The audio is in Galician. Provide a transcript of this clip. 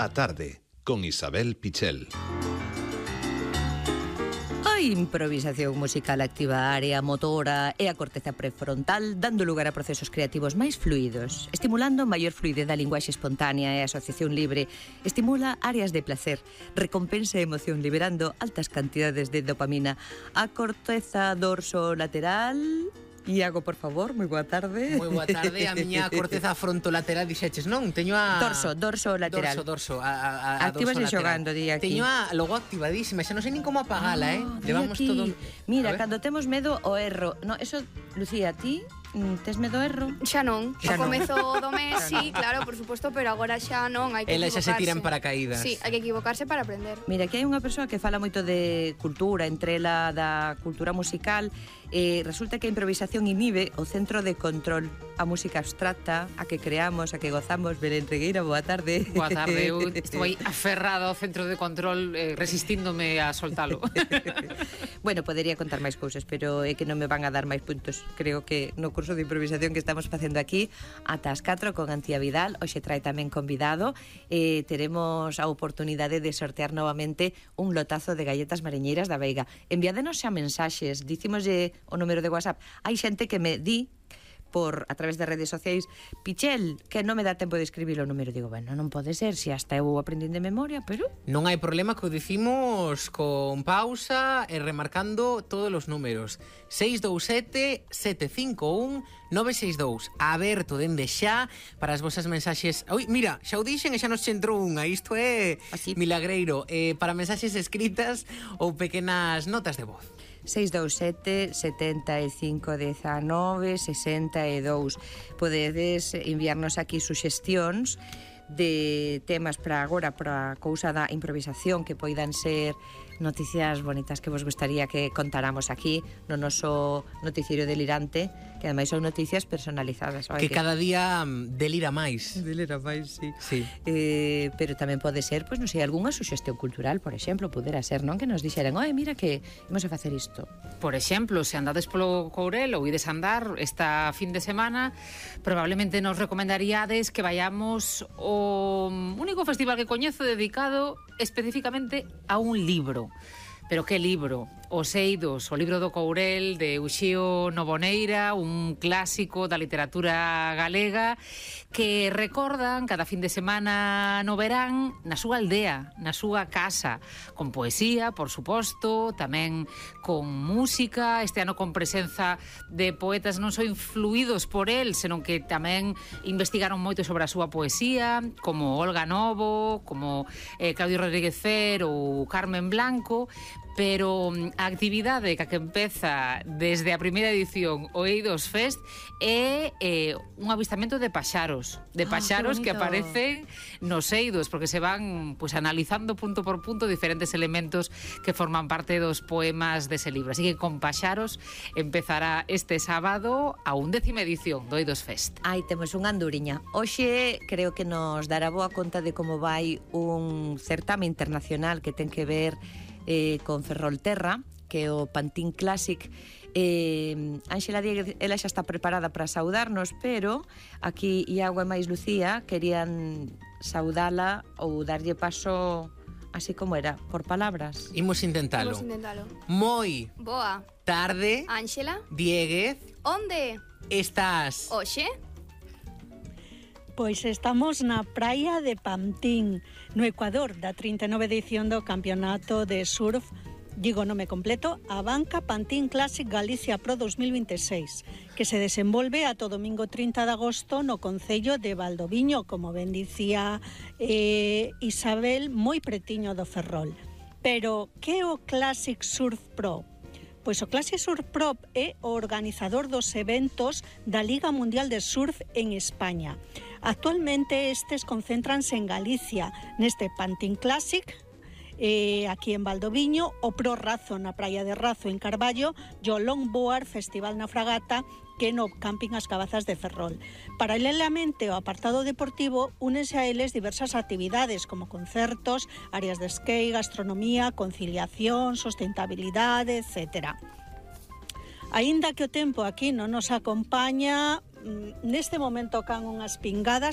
A tarde, con Isabel Pichel. A improvisación musical activa a área motora e a corteza prefrontal, dando lugar a procesos creativos máis fluidos, estimulando maior fluidez da linguaxe espontánea e a asociación libre, estimula áreas de placer, recompensa a emoción liberando altas cantidades de dopamina. A corteza dorso lateral... Iago, por favor, moi boa tarde. Moi boa tarde, a miña corteza frontolateral dixeches, non? Teño a... Dorso lateral. Dorso, Actívase xogando, di aquí. Teño a logo activadísima, xa non sei nin como apagala, Levamos aquí. todo... Mira, cando temos medo ao erro. No, eso, Lucía, ti tes medo ao erro? Xa non. Xa Ao non. comezo do mes, sí, claro, por suposto, pero agora xa non, hai que Ela equivocarse. xa se tira en paracaídas. Sí, hai que equivocarse para aprender. Mira, aquí hai unha persoa que fala moito de cultura, entre ela da cultura musical, resulta que a improvisación inhibe o centro de control, a música abstracta, a que creamos, a que gozamos. Belén Regueira, boa tarde. Boa tarde, eu estou aí aferrada ao centro de control, resistíndome a soltalo. Bueno, podería contar máis cousas, pero é que non me van a dar máis puntos. Creo que no curso de improvisación que estamos facendo aquí, ata as 4 con Antía Vidal, hoxe trae tamén convidado, teremos a oportunidade de sortear novamente un lotazo de galletas mariñeiras da Veiga. Enviádenos xa mensaxes, dicimoslle o número de WhatsApp. Hai xente que me di a través de redes sociais, Pichel, que non me dá tempo de escribir o número. Digo, bueno, non pode ser, se hasta eu aprendín de memoria, pero... Non hai problema que o dicimos con pausa e remarcando todos os números. 627-751-962. Aberto dende xa para as vosas mensaxes. Ui, mira, xa o dixen e xa nos entrou unha. Isto é así milagreiro. Para mensaxes escritas ou pequenas notas de voz. 627 75 19 62. Podedes enviarnos aquí suxestións de temas para agora, para a cousa da improvisación, que poidan ser noticias bonitas que vos gustaría que contáramos aquí no noso noticiero delirante, que ademais son noticias personalizadas. Que cada día delira máis. Delira máis, sí. Pero tamén pode ser, pois non sei, algunha suxestión cultural, por exemplo, pudera ser, non? Que nos dixeran, mira que imos a facer isto. Por exemplo, se andades polo Courel ou ides andar esta fin de semana, probablemente nos recomendaríades que vayamos ao único festival que coñezo dedicado especificamente a un libro. Pero que libro? Os Eidos, o libro do Courel de Uxío Novoneira, un clásico da literatura galega que recordan cada fin de semana no verán na súa aldea, na súa casa, con poesía, por suposto, tamén con música, este ano con presenza de poetas non só influídos por el, senón que tamén investigaron moito sobre a súa poesía, como Olga Novo, como Claudio Rodríguez Fer ou Carmen Blanco, pero a actividade que empeza desde a primeira edición o Eidos Fest é un avistamento de paxaros, que aparecen nos Eidos, porque se van pues analizando punto por punto diferentes elementos que forman parte dos poemas dese libro. Así que con paxaros empezará este sábado a 11ª edición do Eidos Fest. Aí temos unha anduriña. Hoxe creo que nos dará boa conta de como vai un certame internacional que ten que ver con Ferrolterra, que é o Pantín Classic. Ángela Dieguez, ela xa está preparada para saudarnos, pero aquí Iago e máis Lucía querían saudala ou darlle paso así como era, por palabras. Imos intentalo. Moi boa tarde, Ángela Dieguez. Onde estás? Oxe? Pois estamos na praia de Pantín, no Ecuador, da 39 edición do Campeonato de Surf, digo nome completo, Abanca Pantín Classic Galicia Pro 2026, que se desenvolve ata o domingo 30 de agosto no concello de Valdoviño, como ben dicía Isabel, moi pretiño do Ferrol. Pero que é o Classic Surf Pro? Pois o Classic Surf Pro é o organizador dos eventos da Liga Mundial de Surf en España. Actualmente estes concéntranse en Galicia, neste Pantín Classic, aquí en Valdoviño, o Pro Razo na praia de Razo en Carballo, e o Longboard Festival na Fragata, que no camping As Cabazas de Ferrol. Paralelamente ao apartado deportivo, únense a eles diversas actividades como concertos, áreas de skate, gastronomía, conciliación, sustentabilidade, etc. Aínda que o tempo aquí non nos acompaña, neste momento can unhas pingadas,